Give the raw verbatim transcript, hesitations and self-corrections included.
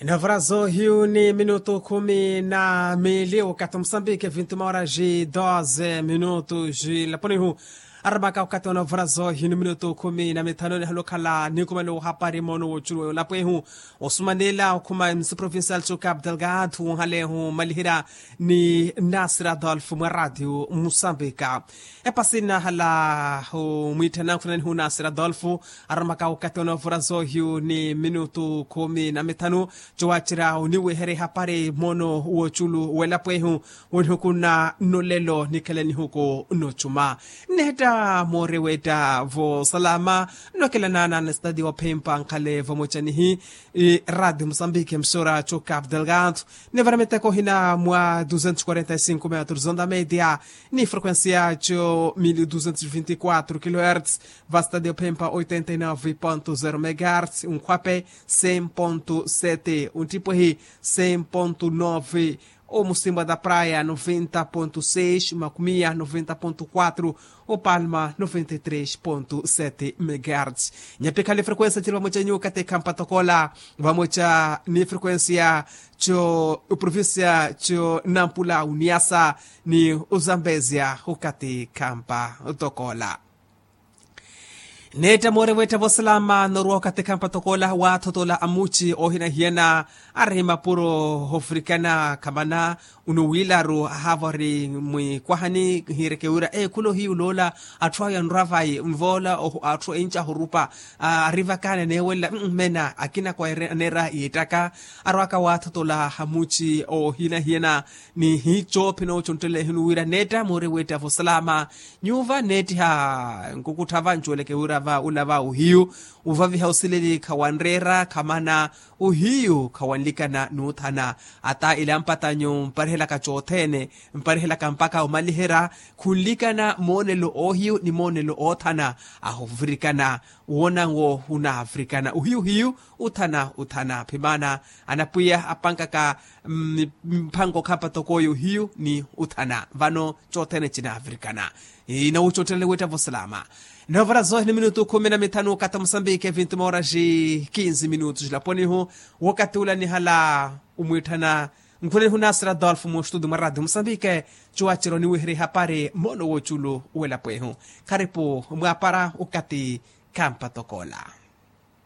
Novarazo hiyu ni minutu khumi na mili wakati musambiki vintu maora ji doze minutu ji laponihu. Aramaka wakati wa novarazo hiyu ni minutu khumi na mitano ni halukhala ni kumani uhapari mono wochulu wa lapwehu. Osumanila okhuma msi provincial cho cap delgado wunhalehu malihira ni nasir adolf mwa radio musambika. Epasi nahala humwitthana nkhunanihu nasir adolf. Aramaka wakati wa novarazo hiyu ni minutu khumi na mitano. Cowacerya oniweherya ehapari mono wochulu welapwehu. Wonihuku na nolelo nikhele nihuku nochuma. Nneetta moorewetta vosalama. Nnokelanana na stadi wa phempa nkhale vamocanihi. Radi musambiki msora cho cap delgado. Nivara miteko hina mwa duzentos quarenta e cinco metros onda media. Ni frequencia cho mil duzentos vinti quatro kilohertz. Va stadi wa phempa oitenta e nove ponto zero megahertz unkhwape. Cem ponto sete untipwehi. Cem ponto nove. Omusimba da praia noventa ponto seis makumia noventa ponto quatro. Opalma noventa e três ponto sete megahertz. Nyapikhale frequencia ciri vamoca nyuka tekhampa tokola. Vamoca ni frequencia co provincia co nampula uniasa ni uzambezia ukati khampa tokola. Neetta moorewetta vosalama norwa okathi khampa tokola waathotola amuci oohinahiyana. Ari mapuro hofurikana khamana. Unuwiilaru ahaava ori mwikwahani hiireke wira ekhula ohiyu loola. Atthu ayo anrwa vayi nvoola atthu enci ahurupa. Ari vakaani aneewelela mmena akina kwa aneera yiittaka. Arwaka waathotola hamuci oohinahiyana. Ni hiicoophi nooconttelehinu wira neetta moorewetta vosalama. Nyuva neettiha nkukuttha va ncuweleke wira va ula va ohiyu. Uvaviha osileli khawanreera khamana. Ohiyu khawanlikana n'uthana. Ata ilampatanyu mparihelaka cothene. Mparihelaka mpakha omaliherya. Khunlikana moonelo oohiyu ni moonelo oothana. Ahuvurikana. Woonanwo hunavurikana ohiyu hiyu. Uthana uthana phimaana. Anapwiya apankaka mphanko khampa tokooyo hiyu ni uthana vano. Cothene cinavurikana. Inawucottelele wetta vosalama. Novarazo ni minutu khumi na mithanu kata musambiki vintu maora ji kinzi minutu jilaponihu. Wakati ula nihala umwitthana nkhulenihu nasir adolf mu studio mwa radio musambiki. Cuwaciro niwihiri hapari mono woculu welapwehu. Kharipu mwapara ukati khampa tokola.